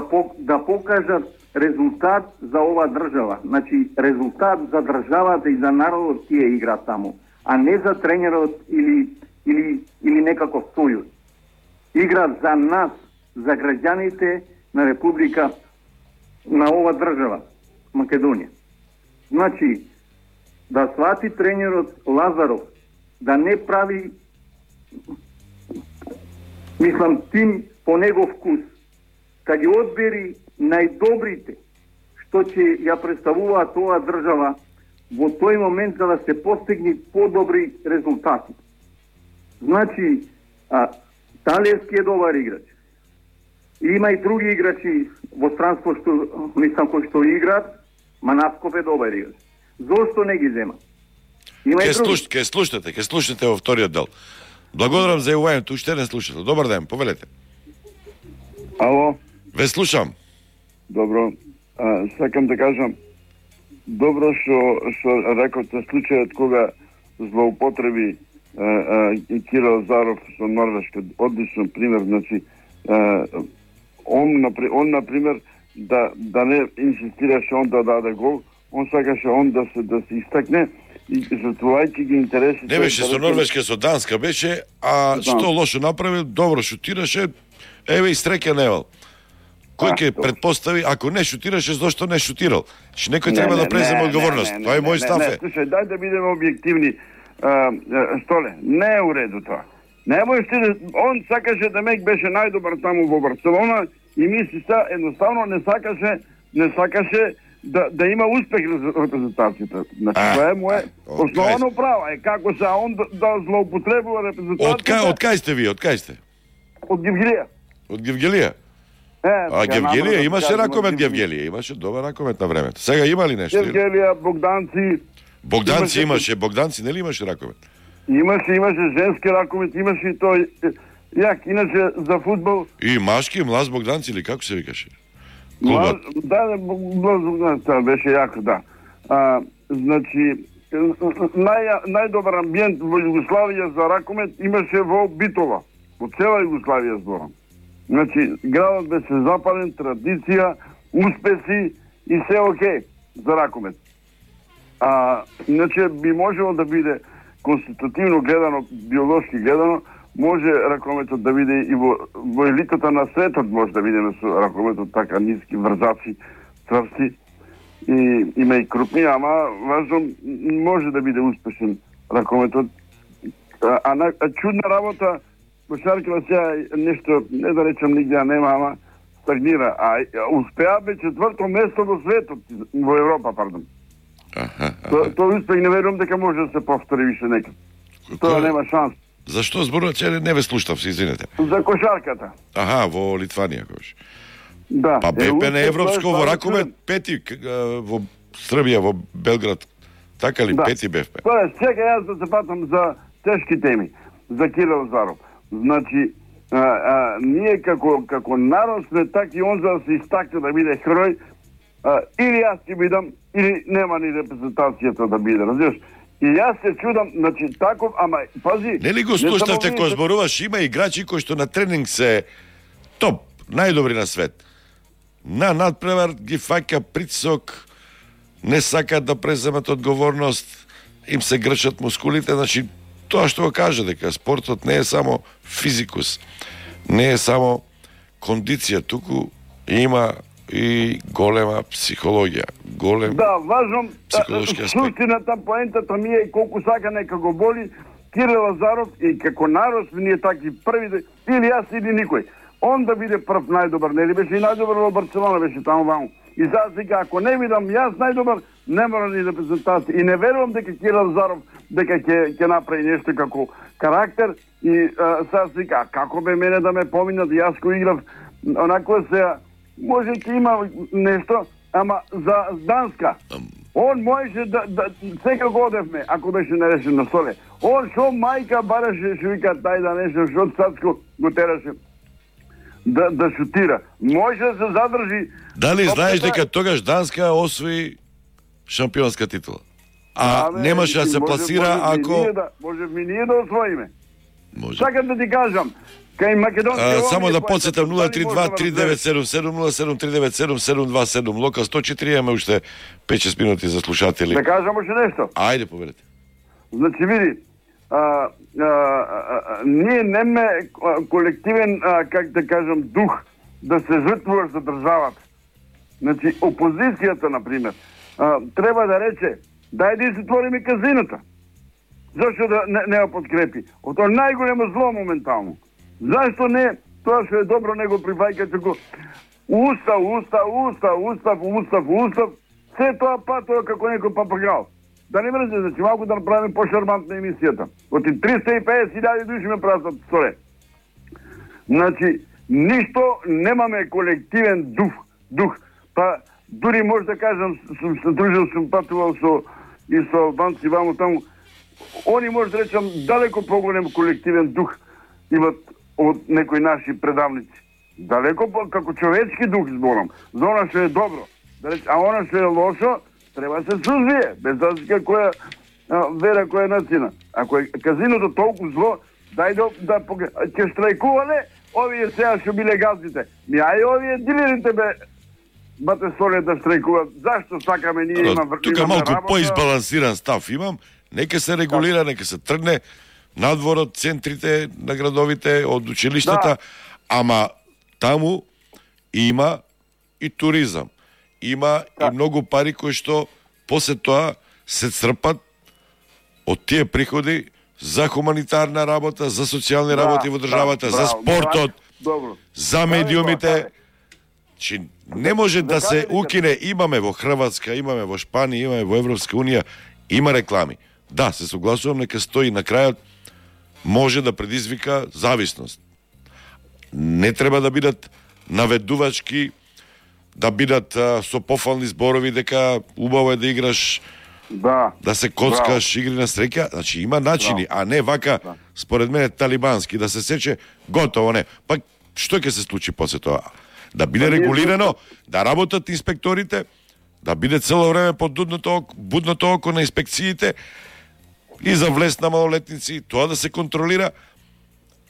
покажат резултат за ова држава. Значи, резултат за државата и за народот тие игра таму, а не за тренерот или некаков сојуз. Игра за нас, за граѓаните на Република, на ова држава, Македонија. Значи, да свати тренерот Лазаров, да не прави, мислам, тим по негов вкус, кога ги одбери најдобрите што ќе ја представуваат оваа држава во тој момент за да се постигне подобри резултати. Значи, Талевски е добар играч. Има и други играчи во странство што мислам кои што играат, Манасков е добар играч. Зошто не ги зема? Ке слушате во вториот дел. Благодарам за јавувањето, уште не слушате. Добар ден, повелете. Ало? Ве слушам. Добро. Сакам да кажам, добро што рекоте случајот кога злоупотреби Кирил Заров со Норвешка, одличен пример, значи он например да не инсистираше он да даде гол, он сакаше он да се истакне и затворајќи ги интересите. Не беше со Норвешка, со Данска беше, а што лошо направи, добро шутираше, еве и среќа невал. Кој ќе предпостави, ако не шутираше, зошто не шутирал? Што некој треба да преземе одговорност. Тоа е мој став. Слушај, дај да бидеме објективни. Столе, не е уреду тоа. Немој ти, он сакаше да Мек беше најдобар таму во Барселона и мисли едноставно не сакаше да има успех репрезентацијата. Значи, тоа е моје основно право. Како се он да злоупотребува репрезентацијата. Од кај сте ви? Од кај сте? Од Гевгелија. Од Гевгелија? А Гевгелија имаше ракомет, Гевгелија имаше добар ракомет на времето. Сега има ли нешто? Гевгелија, Богданци имаше, Богданци нели имаше ракомет? Имаше женски ракомет, имаше и тој јак, иначе за фудбал. И машки, Млаз Богданци или како се викаше? Млаз Богданци, беше јако, да. Значи, најдобар амбиент во Југославија за ракомет имаше во Битола. Во цела Југославија зборам. Значи, градот беше запален, традиција, успеси и се окей за ракомет. Иначе би можело да биде конститутивно гледано, биолошки гледано, може ракометот да биде и во елитата на светот, може да бидеме со ракометот така ниски, врзаци, цврсти, и има и крупни, ама важно може да биде успешен ракометот. Чудна работа, кошарката сега нешто, не да речам нигде нема, ама стагнира. Успеа бе 4-то место во светот, во Европа, пардон. Тој успех не верувам дека може да се повтори више некад. Тоа нема шанс. Зашто зборувате, не ве слуштав, се извинете. За кошарката. Во Литванија, кош. Да. Па БП на европско во ракомет пети во Србија, во Белград. Така ли, пети БФП? Тоа чека јас да се патам за тешки теми, за Кирил Заров. Значи, ние како народ сме така и он за да се истакне да биде херој, или јас ќе бидам, или нема ни репрезентацијата да биде, разбираш? И јас се чудам, значи таков, ама пази... Нели го слушнавте кој зборуваш, има играчи кои што на тренинг се топ, најдобри на свет. На надпревар ги фаќа притисок, не сакаат да преземат одговорност, им се грчат мускулите, значи тоа што го кажа дека спортот не е само физикус, не е само кондиција, туку има и голема психологија, голем важно психолошки аспект. Суштината, поентата ми е колку сака нека го боли Кирил Заров и како народ ние таки први, или јас или никој. Он да биде прв најдобар, нели беше и најдобар во Барселона, беше таму ваму. И сега ако не видам јас најдобар, не мора ни репрезентација. И не верувам дека Кирил Заров дека ќе направи нешто како карактер и сега како бе мене да ме поминат, јас кој играв онако се може ќе има нешто, ама за Данска. Он можеше да сега го одевме, ако беше нарешен на столе. Он шо мајка бараше, шо вика тај да нешто, шо Цацко го тераше да шутира. Може да се задржи. Дали знаеш дека тогаш Данска освои шампионска титула? Немаше да се пласира ако... Може ми ние да освоиме. Сакам да ти кажам, кај македонски... Само да подсетам 032-397-07-397-727 Лока 104, имаме уште 5-6 минути за слушатели. Да кажам уште нешто? Ајде, поведете. Значи, види, ние неме колективен, как да кажам, дух да се жртвуваш за државата. Значи, опозицијата, например, треба да рече, дај да се твориме казината. Зашто да не ја подкрепи? Ото најголемо зло моментално. Зашто не, тоа што е добро, не го прифаќа, како устав, се тоа патува како некој папагал. Да не мрзе, значи малку да направиме пошармантна емисијата. Оти 350.000 души ме прасат сторе. Значи, ништо немаме колективен дух. Па, дури може да кажам, сум патувал и со албанци вамо таму, они може да речам далеко поголем колективен дух имат од некои наши предавници. Далеко како човечки дух зборам. За она што е добро. А она што е лошо, треба се сузбие, без разлика која вера, која нацина. Ако е казиното толку зло, дај да ќе штрајкувале, овие сега што биле газдите. Ај овие дилерите бате соле да штрајкуваат. Зашто сакаме ние имаме тука малку поизбалансиран став имам, нека се регулира, нека се тргне надвор од центрите на градовите, од училиштата, ама таму има и туризам. Има и многу пари кои што после тоа се црпат од тие приходи за хуманитарна работа, за социјални работи во државата, за спортот, за медиумите. Чи не може да се укине, имаме во Хрватска, имаме во Шпанија, имаме во Европска унија, има реклами. Да, се согласувам, нека стои на крајот, може да предизвика зависност. Не треба да бидат наведувачки, да бидат со пофални зборови дека убаво е да играш, да се коцкаш, игри на среќа. Значи има начини, а не вака, според мене, талибански, да се сече, готово не. Пак, што ќе се случи после тоа? Да биде регулирано, да работат инспекторите, да биде цело време под будното око на инспекциите и за влез на малолетници, тоа да се контролира,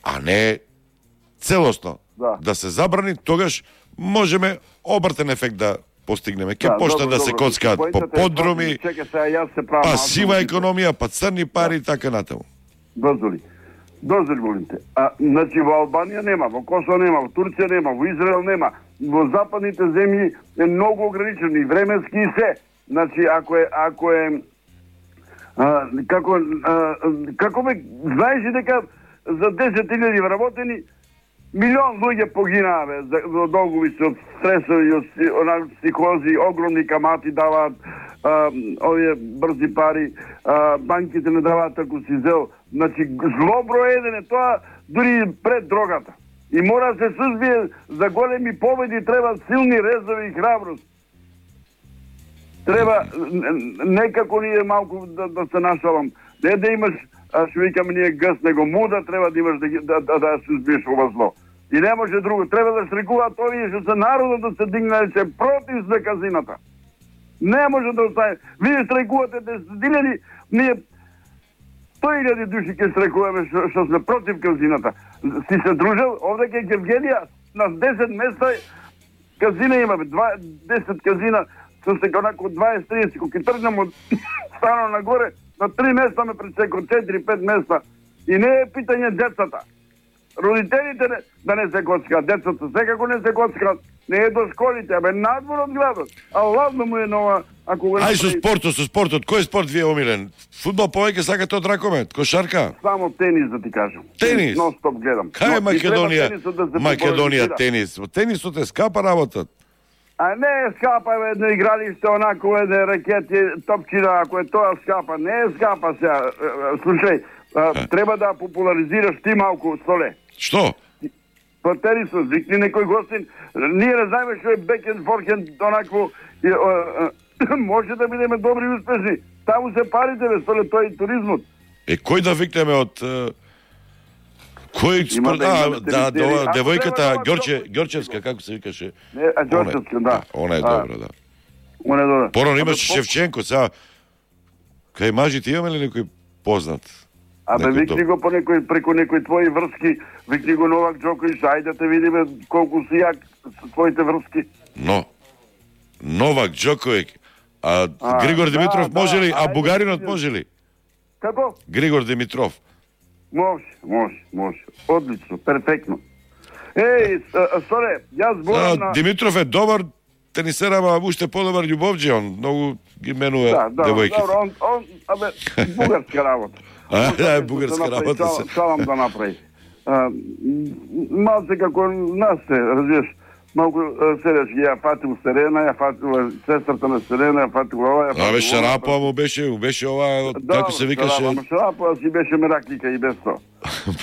а не целосно да се забрани, тогаш можеме обртен ефект да постигнеме. Ке почнат да се коцкаат по подруми, па сива економија, па црни пари и така натаму. Дозволи волите. Значи во Албанија нема, во Косово нема, во Турција нема, во Израел нема. Во западните земји е многу ограничено и временски и се. Значи ако е како ме знаеш дека за 10.000 вработени милион луѓе погинаа во долгови од стресови, од психози, огромни камати даваат, овие брзи пари, банките не даваат ако си зел. Значи, зло броедене, тоа дури пред дрогата. И мора се сузбие за големи победи, треба силни резови и храброст. Треба некако ние малку да се нашалам. Не да имаш, што викаме ние гъс, него муда, треба да имаш да сузбиеш ова зло. И не може друго. Треба да штрикуваат овие што се народот да се дигнале против за казината. Не може да остане. Вие штрикувате десетилјади, ние 100.000 души ќе штрикуваме што сме против казината. Си се дружел, овде ке Гевгенија, на 10 места казина имаме, 10 казина, со се онако 20-30, кога ќе тргнем од стано нагоре, на 3 места ме пресеко, 4-5 места. И не е питање децата. Родителите да не се коцкаат, децата секако не се коцкаат, не е до школите, абе надвор од градот. А ладно му е нова, ако го Ај со спортот, кој спорт ви е омилен? Фудбал повеќе сакате од ракомет, кошарка? Само тенис да ти кажам. Тенис? Нон-стоп гледам. Кај Македонија тенис? Тенисот е скапа работа. А не е скапа едно игралиште, онако едно ракети, топчина, ако е тоа скапа. Не е скапа сега. Слушај, треба да популаризираш ти малку, Столе. Што? По тенисот, викни некој гостин. Ние не знаеме што е бекенд, форхенд, онакво. Може да бидеме добри и успешни. Таму се парите, бе, Столе, тој и туризмот. Кој да викнеме од... Кој спорт... девојката Ѓорчевска, како се викаше? Ѓорчевска, да. Она е добра, да. Она е добра. Порано имаше Шевченко, сега... Кај мажите имаме ли некој познат? Абе, викни го преку некои твои врски, викни го Новак Џоковиќ, ајде да те видиме колку си јак со твоите врски. Но, Новак Џоковиќ, Григор Димитров може ли, а бугаринот може ли? Како? Григор Димитров. Може. Одлично, перфектно. Еј, Соре, јас зборам на... Димитров е добар тенисер, ама уште подобар љубовџи, он многу ги менува девојките. Да, он, абе, бугарска работа. Да, бугарска работа се. Салам да направи. Малце како нас се, разбираш, малку седеш, ја фатил Серена, ја фатил сестрата на Серена, ја фатил ова, ја фатил... Абе, Шарапова му беше ова, како се викаше... Да, Шарапова си беше мераклика и без тоа.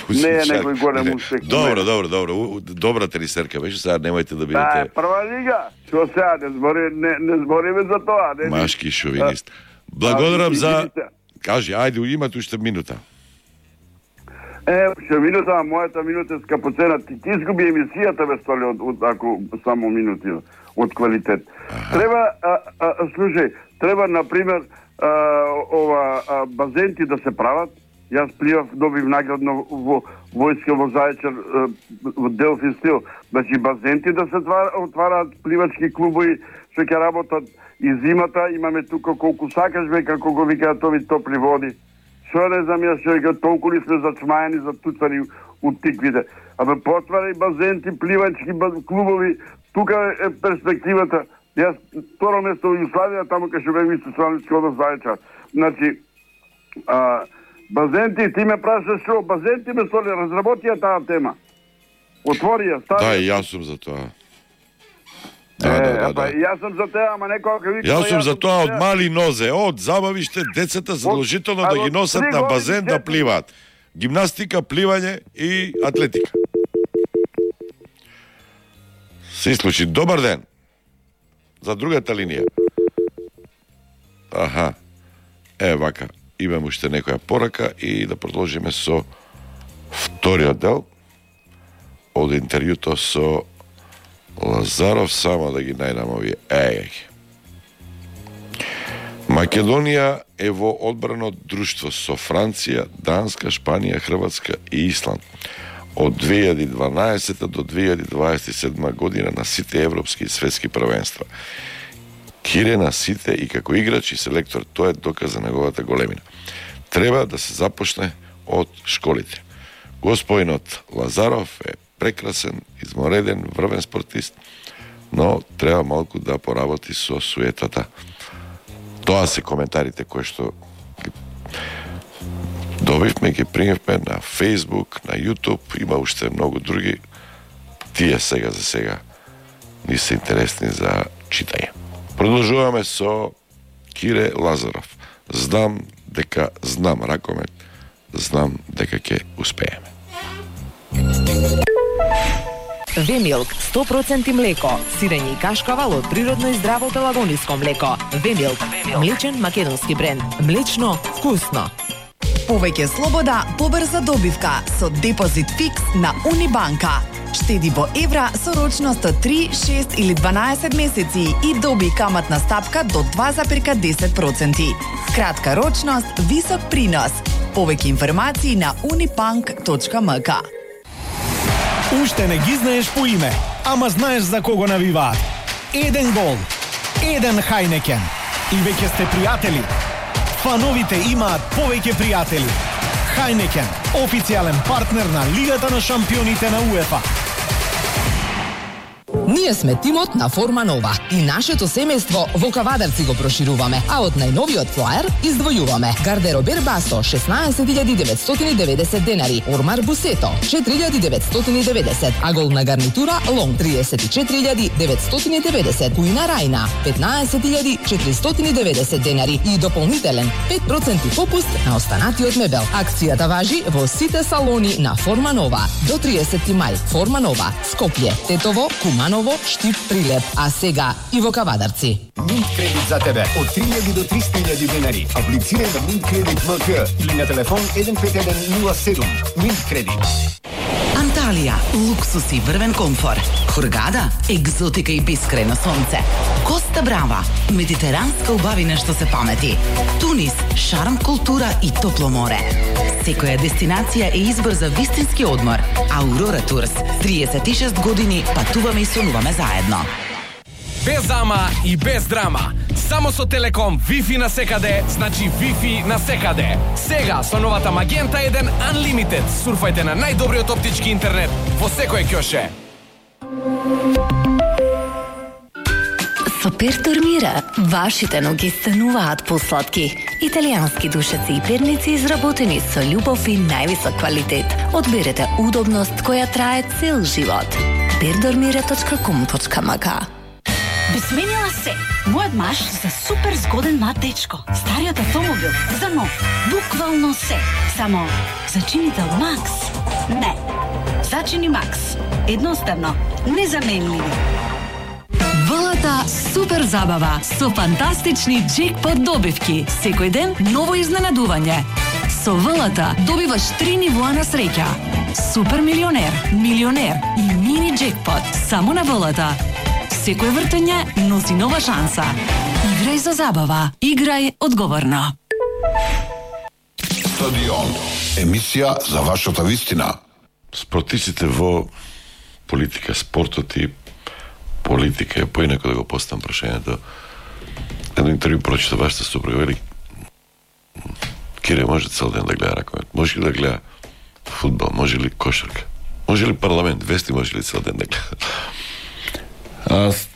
Не е некој голем успех. Добро. Добра тенисерка беше, сега немајте да бидете... Прва лига, што сега, не збориме за тоа. Машки шовинист. Благодарам за... Кажи, ајде, имате уште минута. Ше минута, мојата минута е скапоцена. Ти изгуби емисијата, бе, Столи, ако само минути од квалитет. Треба, слушај, треба, например, базенти да се прават, Јас пливав, добив наградно во војска во Зајчар, во Делфи стил. Значи, базенти да се отвараат пливачки клубови, што ќе работат и зимата. Имаме тука колку сакаш, бе, како го викаат ови топли води. Што не знам јас, што толку ли сме зачмајани, затуцани у тиквите. Абе, потварај базенти, пливачки клубови, тука е перспективата. Јас второ место во Југославија, таму кај што бев исто Славницки од Зајчар. Значи, базенти, ти ме прашаш што, базенти ме столи, разработија таа тема. Отвори ја, стави. Да, и јас сум за тоа. Да. Јас сум за тоа, ама некоја вика... Јас сум за тоа од мали нозе, од забавиште, децата задолжително да ги носат на базен да пливаат. Гимнастика, пливање и атлетика. Се случи. Добар ден. За другата линија. Аха. Вака. Имам уште некоја порака и да продолжиме со вториот дел од интервјуто со Лазаров, само да ги најдам овие. Македонија е во одбрано друштво со Франција, Данска, Шпанија, Хрватска и Исланд од 2012 до 2027 година на сите европски и светски првенства. Кире на сите и како играч и селектор, тоа е доказ за неговата големина. Треба да се започне од школите. Господинот Лазаров е прекрасен, измореден, врвен спортист, но треба малку да поработи со суетата. Тоа се коментарите кои што добивме, ги примевме на Facebook, на YouTube, има уште многу други. Тие сега за сега не се интересни за читање. Продолжуваме со Кире Лазаров. Знам дека знам ракомет, знам дека ќе успееме. Вемилк 100% млеко, сирење и кашкавал од природно и здраво пелагониско млеко. Вемилк, млечен македонски бренд. Млечно, вкусно. Повеќе слобода, побрза добивка со депозит фикс на Унибанка. Штеди во евра со рочност од 3, 6 или 12 месеци и доби каматна стапка до 2,10%. Кратка рочност, висок принос. Повеќе информации на unibank.mk. Уште не ги знаеш по име, ама знаеш за кого навиваат. Еден гол, еден Хайнекен. И веќе сте пријатели. Фановите имаат повеќе пријатели. Хайнекен, официјален партнер на Лигата на шампионите на УЕФА. Ние сме тимот на Форма Нова и нашето семејство во Кавадарци го прошируваме, а од најновиот флаер издвојуваме гардеробер Басо 16.990 денари, ормар Бусето 4.990, а голна гарнитура Лонг 34.990, кујна Рајна 15.490 денари и дополнителен 5% попуст на останатиот мебел. Акцијата важи во сите салони на Форма Нова до 30 мај. Форма Нова, Скопје, Тетово, Куманово, Штип, Прилеп, а сега и во Кавадарци. Минт кредит за тебе од 3.000 до 300.000 денари. Аплицирај на Минт кредит МК или на телефон 15107. Минт кредит. Анталија, луксус и врвен комфор. Хургада, екзотика и бескрајно сонце. Коста Брава, медитеранска убавина што се памети. Тунис, шарм, култура и топло море. Секоја дестинација е избор за вистински одмор. Аурора Турс, 36 години патуваме и сонуваме заедно. Без ама и без драма. Само со Телеком Wi-Fi на секаде, значи Wi-Fi на секаде. Сега со новата Магента 1 Unlimited. Сурфајте на најдобриот оптички интернет во секој ќоше. Со Пертормира, вашите ноги стануваат посладки. Италијански душеци и перници изработени со љубов и највисок квалитет. Одберете удобност која трае цел живот. Perdormira.com.mk. Би сменила се. Мојот маж за супер згоден млад дечко. Стариот автомобил за нов. Буквално се. Само зачинител Макс. Не. Зачини Макс. Едноставно. Незаменливи. ВЛТ супер забава со фантастични джекпот добивки. Секој ден ново изненадување. Со ВЛТ добиваш 3 нивоа на среќа. Супер милионер, милионер и мини джекпот само на ВЛТ. Секој вртење носи нова шанса. Играј за забава. Играј одговорно. стадион. Емисија за вашата вистина. Спротивците во политика, спортот и политика, поинако да го поставам прашањето. Едно интервју прочита вашата супруга, вели Кире може цел ден да гледа ракомет, може ли да гледа фудбал, може ли кошарка, може ли парламент, вести може ли цел ден да гледа?